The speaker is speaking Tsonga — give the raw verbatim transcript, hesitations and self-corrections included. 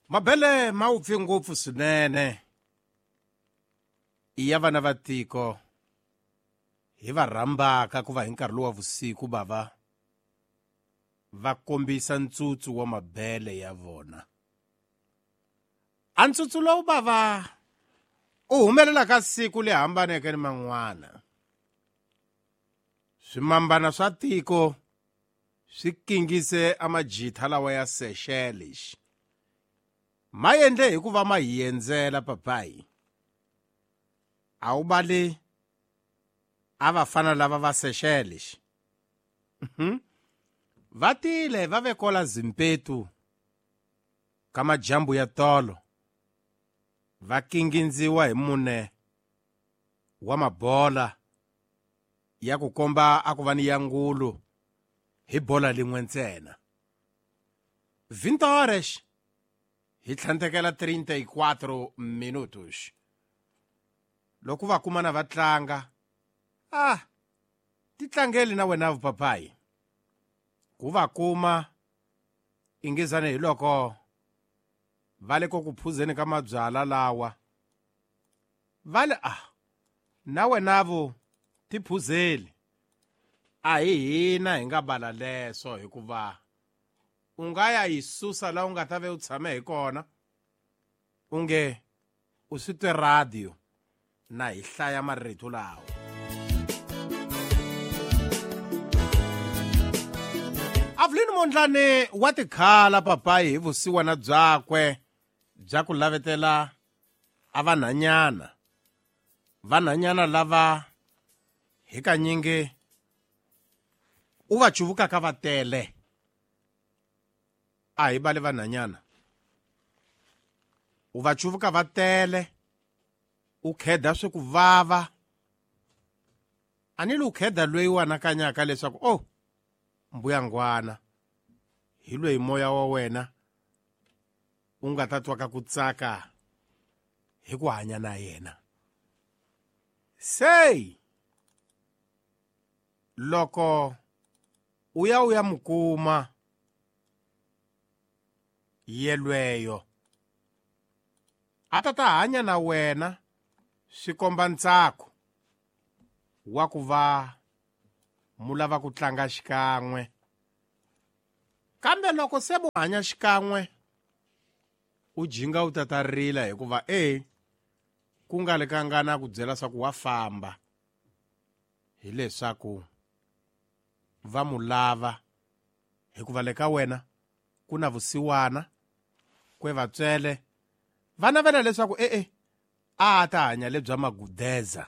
Mabele ma wupfe ngopfu swinene i ya vana va tiko hi va rhambaka ku va hi nkarhi lowu wa vusiku bava va kombisa ntsutsu wa mabele ya vona. A ntsutsu lowu bava u humelela ka siku le hambaneke ni man'wana. Swimambana swa tiko swi kingise a majitha lawa ya Seychelles. Ma endle hi ku va ma hi endzela papayi. A wu bali a va fana lava va Seychelles. Mhm. Va tile va ve kola Zimpetu ka majambu ya tolo. Va kingindziwa hi mune wa mabola ya ku komba a ku va ni ya ngulu hi bola lin'we ntsena. vinte horas hi tlhantekela trinta e quatro minutos. Loko va kumana va tlanga, ah, ti tlangeli na wena papayi. Ku va kuma ingizane hi loko va le ku phuzeni ka mabyala lawa. Va le ah, na wena vo ti phuzeli. A hi hina hi nga bala leswo hikuva u nga ya yi susa la u nga ta ve u tshame hi kona u nge u swi twe radio na hi hlaya marito lawa. Avlin Mondlane wa tikhala papayi hi vusiwana byakwe bya ku lavetela a vanhanyana. Vanhanyana lava hi kanyingi u va chuvukaka va tele. A hi bale vanhanyana. U va chuvuka va tele, u kheda swi ku vava. A ni lu kheda loyi u anakanyaka leswaku oh, mbuyangwana hi loyi moya wa wena u nga ta twaka ku tsaka hi ku hanya na yena. Sei loko u ya u ya mukuma yelweyo a ta ta hanya na wena swi komba ntsako wa ku va mu lava ku tlanga xikan'we. Kambe loko se mu hanya xikan'we u jinga u ta ta rila hikuva e ku nga le ka ngana ku byela swa ku wa famba hileswaku va mu lava hikuva le ka wena ku na vusiwana kwe vatswele va navela leswaku e-e a ta hanya lebya magudeza.